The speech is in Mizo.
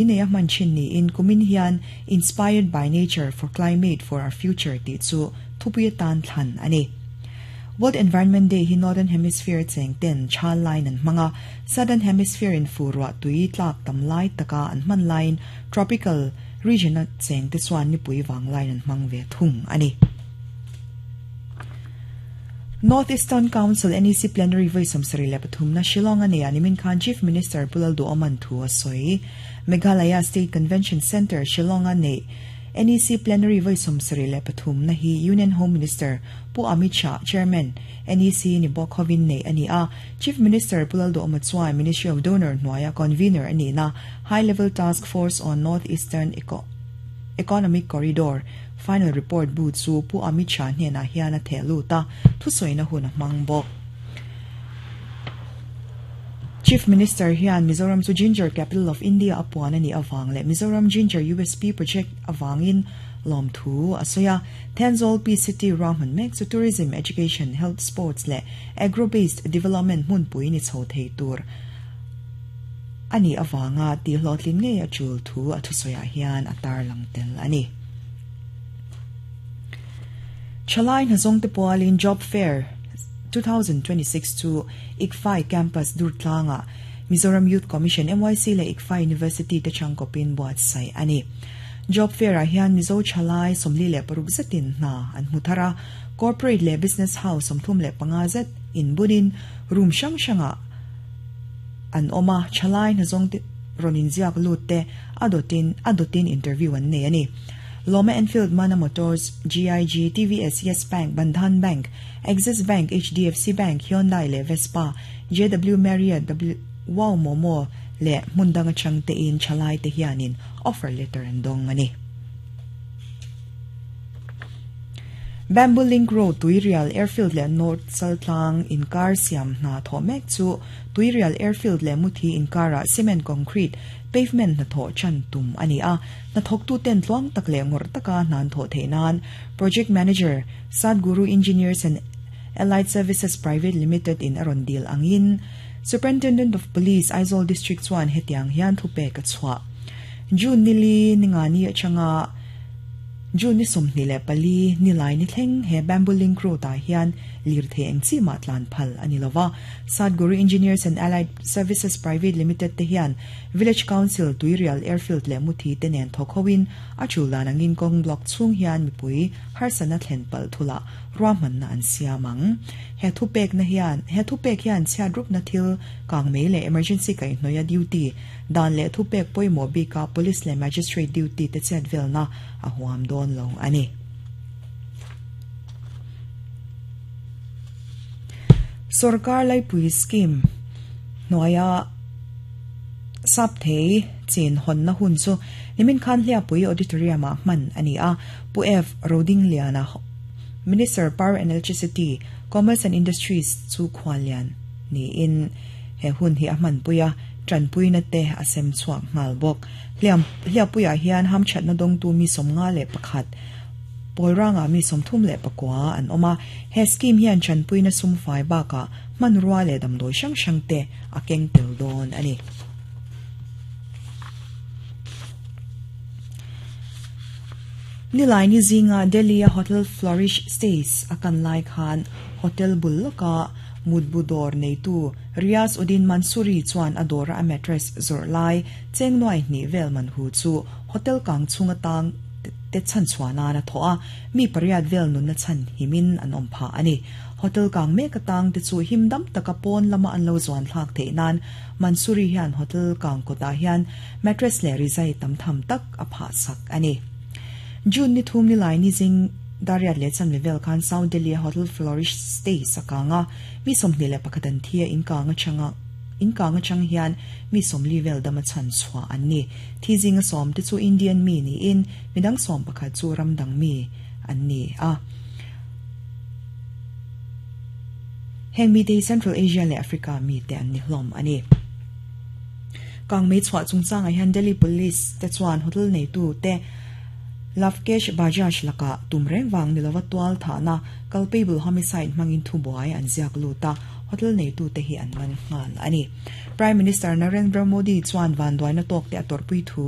Nei a hman thin niin kumin hian Inspired by Nature for Climate for Our Future tih chu thupui atan thlan a ni. World Environment Day hi Northern Hemisphere cheng ten chal laiin an hmang a, Southern Hemisphere in fu ruah tui tlak tam lai taka an hman laiin Tropical Region a cheng te chuan nipui vang laiin an hmang ve thung a ni. North Eastern Council, NEC, Plenary vawi 73 na Shillong a nei a, nimin khan Chief Minister Pu Lalduhoman thu a sawi. Meghalaya State Convention Centre, Shillong a neih NEC Plenary vawi 73 na hi Union Home Minister Pu Amit Shah, Chairman, NEC ni bawk hovin neih a ni a. Chief Minister Pu Lalduhoma chuan Ministry of Donor hnuaia Convener a nihna High Level Task Force on North Eastern Economic Corridor Final report bu chu Pu Amit Shah hnenah hian a theh lut a, thusawina hun a hmang bawk. Chief Minister hian Mizoram chu Ginger Capital of India a puan a nih avang leh Mizoram Ginger USP Project avangin lawmthu a sawi a. Thenzawl PCT ruahman mek chu Tourism, Education, Health, Sports leh Agro-based Development hmunpui ni chho thei tur a nih avanga tihhlawhtlin ngei a tul thu a thusawiah hian a tarlang tel a ni. Thalai hnazawngte pualin Job Fair 2026 chu ICFAI Campus Durtlangah Mizoram Youth Commission, MYC, leh ICFAI University te changkawpin buatsaih a ni. Job Fair-ah hian Mizo thalai 46 zetin hna an hmu thar a, corporate leh business house 35 zet inbunin room hrang hrangah an awm a, thalai hnazawngte rawn inziak lut te a dawtin a dawtin interview an nei a ni. Lawma Enfield, Mana Motors, GIG, TVS, Yes Bank, Bandhan Bank, Axis Bank, HDFC Bank, Hyundai leh Vespa, JW Marriott, W Wow Momo leh hmun dang atang tein thalai te hianin offer letter an dawng a ni. Bamboo Link Road, Tuirial Airfield leh North Chaltlang inkar siam hna thawh mek chu Tuirial Airfield leh Muthi inkarah cement concrete pavement hnathawh chan tum a ni a, hnathawktuten tluang tak leh ngawrh taka hna an thawh theih nan Project Manager, Sadguru Engineers and Allied Services Private Limited in a rawn dil angin Superintendent of Police, Aizawl District chuan hetiang hian thupek a chhuah. June nili ningani atanga June ni 24 nilai ni thleng he Bamboo Link Road ah hian lirthei eng chi mah tlan phal a ni lova. Sadguru Engineers and Allied Services Private Limited te hian Village Council, Tuirial Airfield leh Muthi te nen thawk hoin a tul dan angin kawng block chhung hian mipui harsatna thlen palh thulah ruahmanna an siam ang. He thupekna hian he thupek hian chhiatrupna thil kang mei leh emergency kaihhnawih a duty dan leh thupek pawimawh bika Police leh Magistrate duty te chet velna a huam dawn lo a ni. Sorkar laipui scheme hnuaia Sapthei chin hawnna hun chu nimin khan Hliapui Auditorium-ah hman a ni a, Pu F. Rodingliana, Minister Power and Electricity, Commerce and Industries chu khuallian niin he hun hi a hmanpui a, tanpuina te a sem chhuak nghal bawk. Hliam Hliapuiah hian hamthatna dawngtu mi 51, Pawlrangah mi 39 an awm a, he scheme hian tanpuina sumfai bakah hmanrua leh damdawi hrang hrang te a keng tel dawn a ni. Nilai ni zinga Delhi-a Hotel Flourish Stays a kan lai khan hotel bul lawka mutbu dawr neitu Riaz Uddin Mansuri chuan a dawra a mattress zawrh lai cheng nuai hnih vel man hu chu hotel kang chhung atang te chhan chhuah nan a thawh a, mi pariat vel nunna chhan himin an awm phah a ni. Hotel kang mek atang te chu him dam taka pawn lama an lo zuan thlak theih nan Mansuri hian hotel kang kawtah hian mattress leh rizai tam tham tak a phah sak a ni. June ni thum ni lai ni zing dariat leh chan level khan South Delhi a Hotel Flourish Stays a kang a, mi 21 an thi a, in kang atanga in kang atang hian mi 40 vel dam a chhan chhuah an ni. Thi zinga sawm te chu Indian mi niin midang 11 chu ramdang mi an ni a. Heng mi te hi Central Asia leh Africa mi te an ni hlawm a ni. Kang mei chhuah chungchangah hian Delhi Police te chuan hotel neitu te Lavkesh Bajaj lakah tum reng vang ni lova tual thahna culpable homicide hmangin thubuai an ziak lut a, hotel neitu te hi an man nghal a ni. Prime Minister Narendra Modi chuan vanduaina tawk te a tawrhpui thu.